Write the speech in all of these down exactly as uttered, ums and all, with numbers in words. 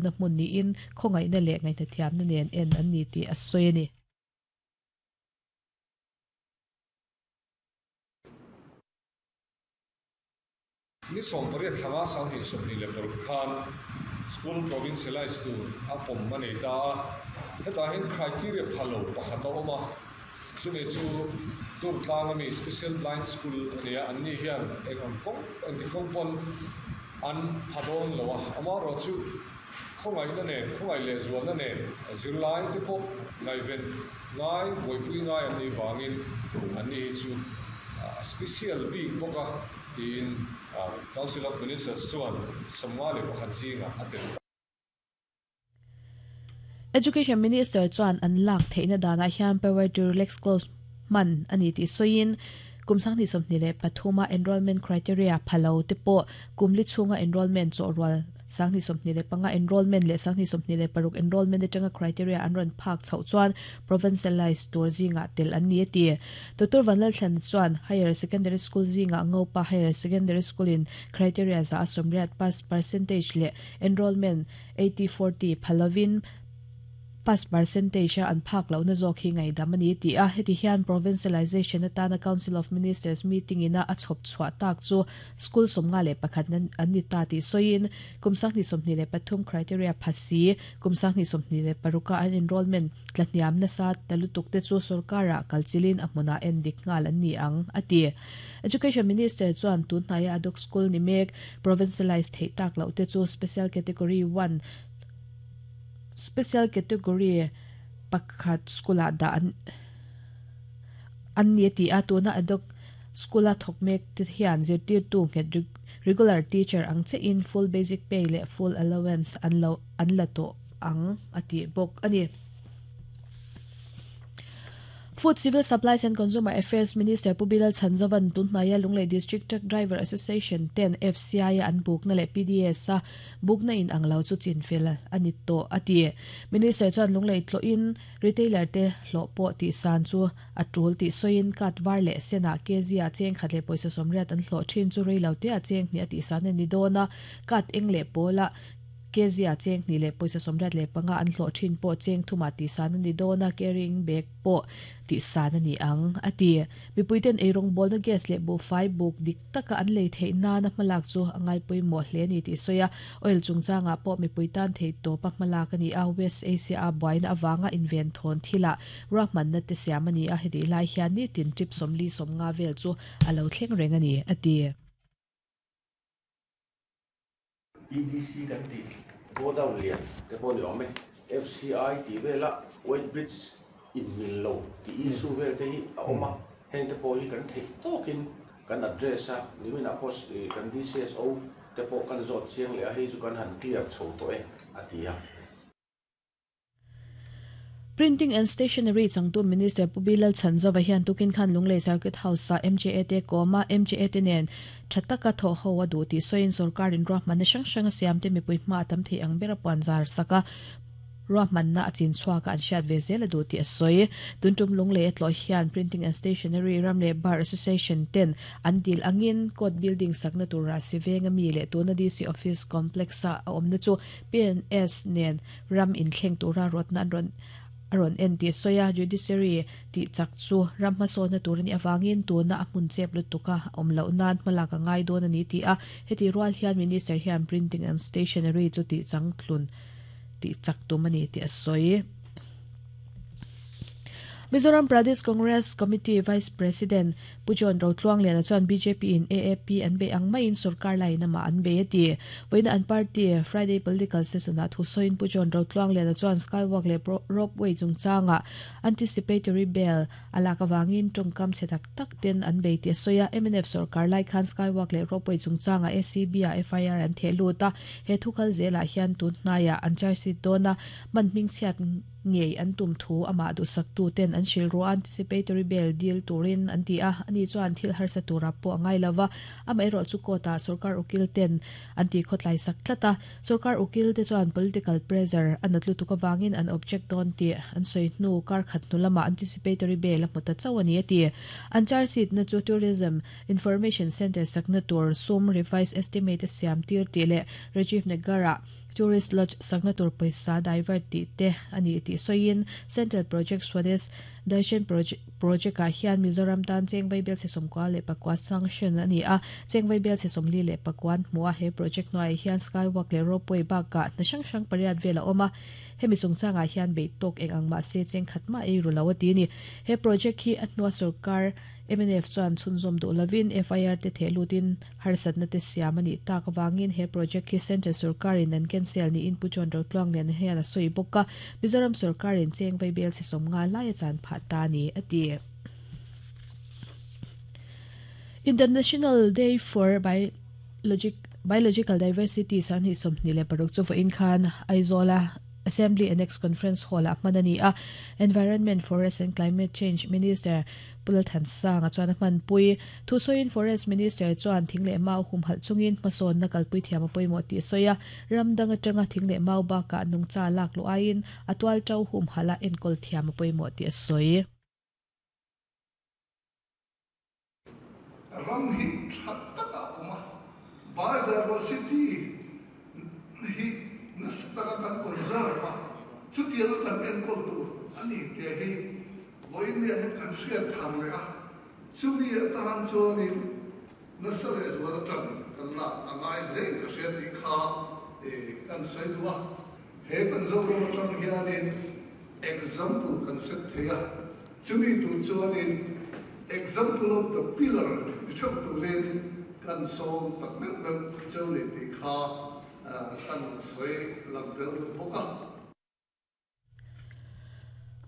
Na mun ni in khongai na le ngai na thiam na nen en an ni ti asoi ni. Ni som pariat thlanga sang hi som ni le por khan school provincialized tur a pom mani ta heta hin criteria phalo pakhata oma chumi chu tur tlang ami special blind school ania an ni hian eng ang kong an ti kong pon an phadon lowa ama ro chu khongai na nen khongai le zuan na nen zirlai te pawh ngai ven ngai boipui ngai an ni wangin an ni chu special big boka in Council of Ministers chuan samwa le pakhat zinga atel. Education Minister chuan an lak theina dana hian power to relax clause man ani ti soin kumsang ni somni le pathuma enrollment criteria phalo te po kumli chunga enrollment chorwal sangni somni le panga enrollment le sangni somni le paruk enrollment te tanga criteria an ron phak chau chuan provincialized tur zinga tel an ni ti. Doctor Vanlal Thlan chuan higher secondary school zinga ngopa higher secondary school in criteria za asomriat pass percentage le enrollment eighty forty phalovin pass percentage an phak lo na zawk hi ngai damani ti a. Heti hian provincialization atana Council of Ministers meeting ina a chhop chhuah tak chu school somnga le pakhat nan an ni ta ti soin kumsang ni somni le pathum criteria phasi kumsang ni somni le paruka an enrollment tlatniam na sa talutuk te chu sarkara kalchilin ahmuna en dik ngal an ni ang ati. Education Minister chuan tun hnaya adok school ni mek provincialized thei tak lo te chu special category one special category pakhat skula da an an ni ti a tuna adok skula thokmek ti hian zirtir tu nge regular teacher ang che in full basic pay le full allowance an lo an la to ang ati bok ani. Food Civil Supplies and Consumer Affairs Minister Pubilal Chanzavan tunhnaya Lunglei District Truck Driver Association ten F C I an buk na le P D S a buk na in anglo chu chinfel ani to ati. Minister chuan Lunglei tlo in retailer te hlo po ti san chu atul ti soin kat var le sena kezia cheng khatle poisa somriat an hlo thin chu reilo te a cheng ni ati san ni dona kat engle pola kezia cheng ni le poisa somrat le panga an hlo thin po cheng thuma ti san ni dona carrying bag po ti san ani ang ati. Mipuiten erong bol na gas le bo five book dik taka an lei thei na na malak chu angai pui mo hle ni ti soya oil chungchanga po mipuitan thei to pa malak ani a West Asia boina awanga invent thon thila rahman na te siamani a hedi lai hian ni tin trip somli somnga vel chu alo thleng reng ani ati. P D C kan ti go down lian te pon yom F C I ti vela weight bridge in mil lo ti issue vel te hi a oma heng te po hi kan thei tokin kan address a nimina post kan D C S O te po kan zot chiang le a hei chu kan han clear chho to e atia. Printing and Stationery changtu Minister Pubilal Chanzawa hian tukin khan Lunglei Circuit House a M J A te koma M J A te nen thataka tho ho adu ti soin sarkarin rahman sang sang siam te mipui hma tam thei ang bera panzar saka rahman na achin chhuaka an hriat ve zel adu ti asoi tuntum Lunglei tlo hian Printing and Stationery Ramle Bar Association ten an dil angin court building sakna tura sivenga mi le tuna D C office complex a awmna chu P N S nen ram in thleng tura rotna an ron aron en ti soya judiciary ti chak chu ramma so na turani awangin tuna a hmun chep lutuka omlo nan malaka ngai don ani ti a heti rual hian minister hian printing and stationery chu ti changthlun ti chak tumani ti asoi. Mizoram Pradesh Congress Committee Vice President Pujon Rotluang Lian chuan B J P in A A P an be ang mai in sarkar lai na ma an be ti voina an party Friday political session a thusoin Pujon Rotluang Lian chuan skywalk le ropeway chungchanga anticipatory bail alaka wangin tongkam chetak tak ten an be ti soya M N F sarkar lai khan skywalk le ropeway chungchanga A C B a F I R an theluta he thukal zela hian tun hnaya an charge sheet dona man hming chiat ngei an tum thu ama du sak tu ten an shil ro anticipatory bail deal turin an ti a ani ani chuan thil harsa tura pawh angai lova amaherawh chu court ah sarkar ukil ten an ti khawtlai sak tlata sarkar ukil te chuan political pressure an atlu tuk awangin an object don ti an soi hnu kar khat hnu lama anticipatory bail a hmu ta chauh ani ati an charge sheet na chu tourism information center sakna tur sum revised estimate siam tir ti le Rajiv Nagara tourist lodge sakna tur paisa divert ti te ani ti soin central project Swadesh Darshan project project a hian Mizoram tan chengwai bel se somkwa le pakwa sanction ani a chengwai bel se somli le pakwan hmua he project noi hian skywalk le ropeway ba ka na sang sang pariat vela oma hemi chungchanga hian bei tok eng ang ma se cheng khatma ei ru lo ti ni he project hi atnuwa sarkar M N F chuan chhunzawm duh lovin F I R te thehlutin harsatna te siam ani tak awangin he project hi central sarkarin an cancel ni in Pu John Rotluang nen hian a sawi bawk a Mizoram sarkarin chengwai bel se sawm nga lai a chan phah ta ni ati. International Day for Biologic Biological Diversity san hi sawmhnih leh paruk chu vawiin khan Aizawl Assembly Annex Conference Hall a hman a Environment, Forest and Climate Change Minister Pulal Thansang a chuan a hman pui thu sawiin Forest Minister chuan thing leh mau hum halh chungin hmasawn na kalpui thiam a pawimawh tih a sawi a ramdang atanga thing leh mau bakah nungcha lak lu aiin a tual tau hum halh a enkawl thiam a pawimawh tih a sawi. Ram hi that taka awm a biodiversity hi nasataka kan conserve a chutiang kan enkawl tur ani te hi vawiin hian kan hriat thar leh a chumi atan chuanin nasa leh zual atang kan lak a ngai hle ka hriat tih kha kan sawi duh a he kan Zoram atang hianin example kan set thei a chumi tur chuanin example of the pillar ni theuh turin kan sawm tak meuh meuh cheu ni tih kha kan sawi lang tel duh bawk a.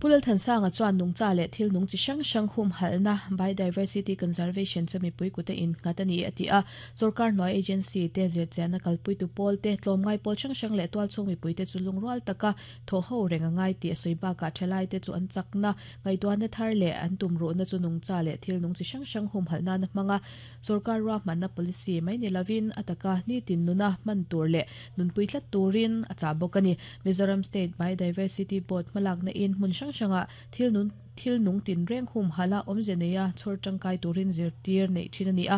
Pulal Thansanga chuan nungcha leh thil nung chi hrang hrang hum halhna biodiversity conservation chumi pui kute in nghat ani ati a sarkar hnuai agency te zirchianna kalpui tu pawl te tlawmngai pawl hrang hrang leh tual chhung mipui te chu lungrual taka thaw ho reng a ngai tih a sawi bakah thalai te chu an chakna ngaihtuahna thar leh an tum ruhna chu nungcha leh thil nung chi hrang hrang hum halhna na hmanga sarkar ruahmanna policy mai ni lovin ataka ni tin nuna hman tur leh nunpui tlat turin a chah bawk ani. Mizoram State Biodiversity Board hmalakna in hmun hrang hranga thil nun thil nung tin reng hum hala awmze neia chhawr tangkai turin zirtir nei thin ani a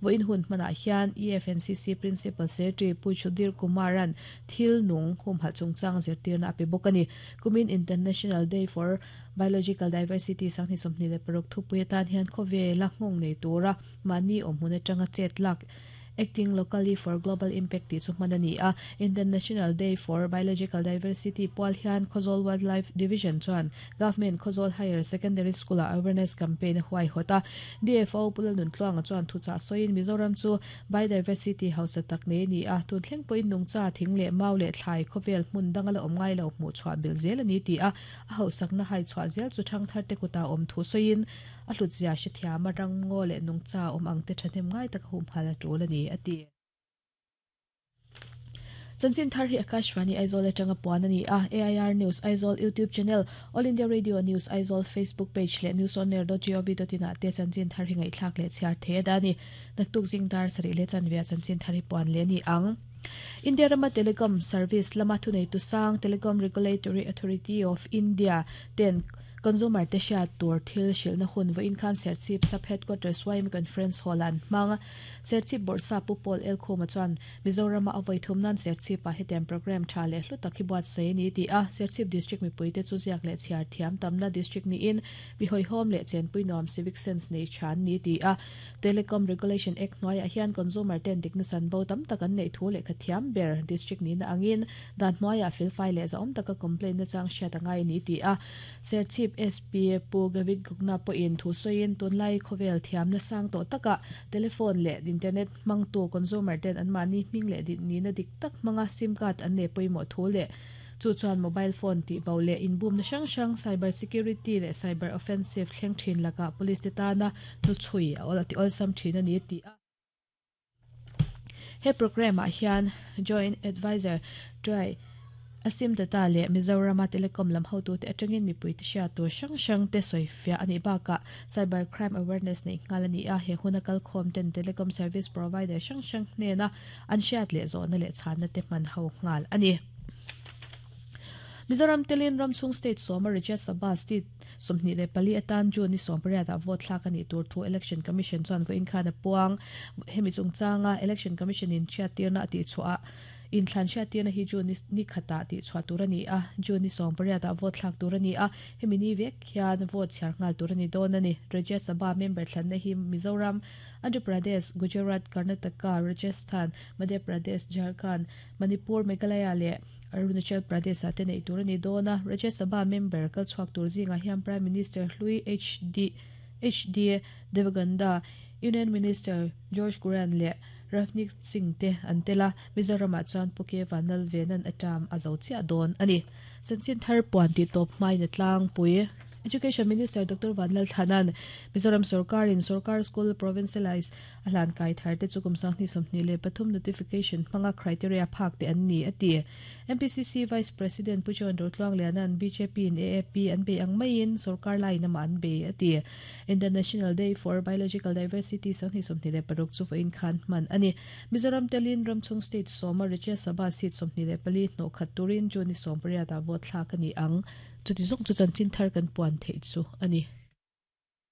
vawiin hun hmanah hian E F N C C Principal Secretary Pu Chudir Kumaran thil nung hum halh chungchang zirtirna a pe bawk ani. Kumin International Day for Biological Diversity sanghnih sawmhnih leh paruk thupui atan hian khawvela nghawng nei tura mahni awm hmun atanga chet lak Acting Locally for Global Impact ti chu hman ani a. International Day for Biological Diversity pual hian Khawzawl Wildlife Division chuan Government Khawzawl Higher Secondary School a awareness campaign huai hota D F O Pulal Nuntluanga chuan thucha sawiin Mizoram chu biodiversity hausa tak nei ni a tun thleng pawhin nungcha thing leh mau leh thlai khawvel hmun danga la awm ngai lo hmuh chhuah bil zel ani ti a a hausakna hai chhuah zel chu thang thar te kuta awm thu sawiin a hlut zia hre thiam a rang ngaw leh nungcha awm ang te thahnem ngai taka hum hal a tul ani ati. Chanchin thar hi Akashvani Aizawl atanga puan ani a A I R News Aizawl YouTube channel, All India Radio News Aizawl Facebook page leh news on air dot gov dot in ah te chanchin thar hi ngaihthlak leh chhiar the da ani. Naktuk zing dar sarih leh chanvia chanchin thar hi puan le ni ang. India Rama Telecom Service lama thunei tu sang Telecom Regulatory Authority of India ten Consumer te hriat tur thil hrilhna hun vawiin khan Serchhip Sub Headquarters Y M Conference Hall an hmang. Serchhip Bawrhsa Pu Paul Elkhuma chuan Mizorama a vawi thum nan Serchhip ah hetiang program tha leh hlu tak hi buatsaih ani ti a. Serchhip District mipui te chu ziak leh chhiar thiam tamna district niin mi hawihhawm leh chenpui nuam civic sense nei than ni ti a. Telecom Regulation Act hnuaiah hian consumer ten dikna chanbo tam tak an nei thu leh kha thiam ber district ni na angin dan hnuaiah felfai leh za awm taka complaint na chang hriat angai ni ti a. Serchhip S P Pu Gavit Gugna pawhin thu sawiin tunlai khawvel thiam na sang tawh taka telephone leh internet hmangtu consumer ten an mahni hming leh ni na dik tak hmanga sim card an nei pawimawh thu leh chu chuan mobile phone tih bo leh inbum na hrang hrang cyber security leh cyber offensive thleng thin laka police te tana hnuchhui a awl ti awlsam thin ani ti a. He program ah hian joint advisor try Asim Data le Mizoram Telecom lam hotu te atangin mipui te hria tur hrang hrang te sawifia ani baka cyber crime awareness nei ngalani a he hunakal khom ten telecom service provider hrang hrang hne na an hriat le zawna le chhanna te hman ho ngal ani. Mizoram telin Ramchung State Soma Rajya Sabha State sawmhnih leh pali atan June ni sawm pariat ah vote thlak ani tur thu Election Commission chuan vawiin khan a puang hemi chungchanga Election Commission in hriattirna a tih chhuah in thlan hriattirna hi June ni khata tih chhuah tur ani a June ni sawm pariat ah vote thlak tur ani a hemi ni vek hian vote chhiar ngal tur ani dawn ani. Rajya Sabha member thlanna hi Mizoram, Andhra Pradesh, Gujarat, Karnataka, Rajasthan, Madhya Pradesh, Jharkhand, Manipur, Meghalaya le Arunachal Pradesh ate nei tur ani dawna. Rajya Sabha member kal chhuak tur zinga hian Prime Minister Hlui H D H D Devegowda, Union Minister George Kurian le Ravneet Singh te an tela. Mizoram ah chuan Puke Vanal Venan atam a zo chiah dawn ani. Chanchin thar puan ti tawp hmai na tlang pui. Education Minister Doctor Vanlal Thanan Mizoram Sarkar in Sarkar School Provincialize ahlan kai thar te chukum sanghni sawmhnih leh pathum notification hmanga criteria phak te an ni ati. M P C C Vice President Pujon Rotluang Lianan B J P in A A P an be ang maiin Sarkar lai nama an be ati. International Day for Biological Diversity sanghni sawmhnih leh paruk chu vawiin khan hman ani. Mizoram telin Ramchung State Soma Rajya Sabha seat sawmhnih leh pali hnawh khat turin June ni sawm pariat ah vote thlak ani ang. Chuti zawng chu chanchin thar kan puan theih chu ani.